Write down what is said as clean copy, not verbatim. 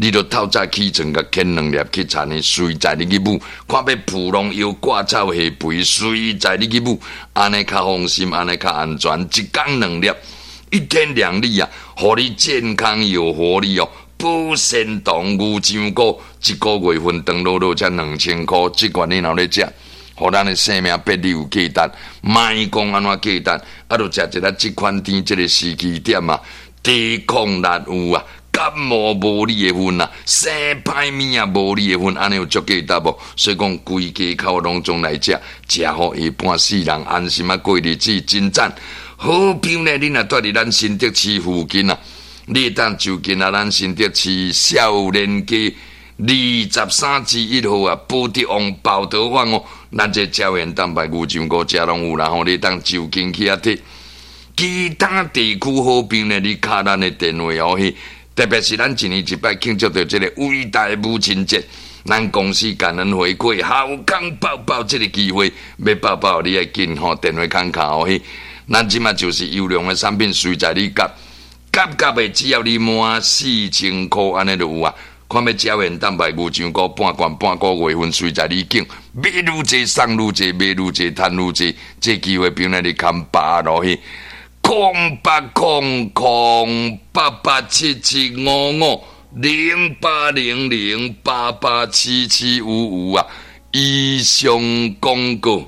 你著透早起床，共牽兩粒去田裡，隨在你去舞，看欲浮農藥割草下肥，隨在你去舞，按呢較放心，按呢較安全。一工兩粒，一天兩粒啊，予你健康有活力哦。保鮮糖牛樟菇，一個月份長落落才2000箍，這款你若咧食，予咱的生命變得有價值，莫講按怎價值，啊，著食一下這款甜這個時機點啊，抵抗力有啊，感冒無你的份啊，生歹物仔無你的份，按呢有足價值無？所以講規家口攏總來食，食予下半世人安心啊過日子，真讚。好朋友呢，你若蹛佇咱新竹市附近啊，你會當就近啊，咱新竹市少年街23之1號啊，寶德王寶德坊哦，咱這膠原蛋白牛樟菇遮攏有啦吼，你會當就近去遐提。其他地區好朋友呢，你敲咱的電話哦，去，特別是咱一年一擺慶祝著這個偉大母親節，咱公司感恩回饋，好康報報這個機會，欲報報你愛緊吼，電話空敲哦去。咱這馬就是優良的產品，隨在你夾夾夾的，只要你滿4000箍，按呢就有啊。看欲膠原蛋白牛樟菇半罐半個月份，隨在你揀，買愈濟送愈濟，買愈濟趁愈濟。這機會朋友你堪把握落去，08008877550800887755啊！以上廣告。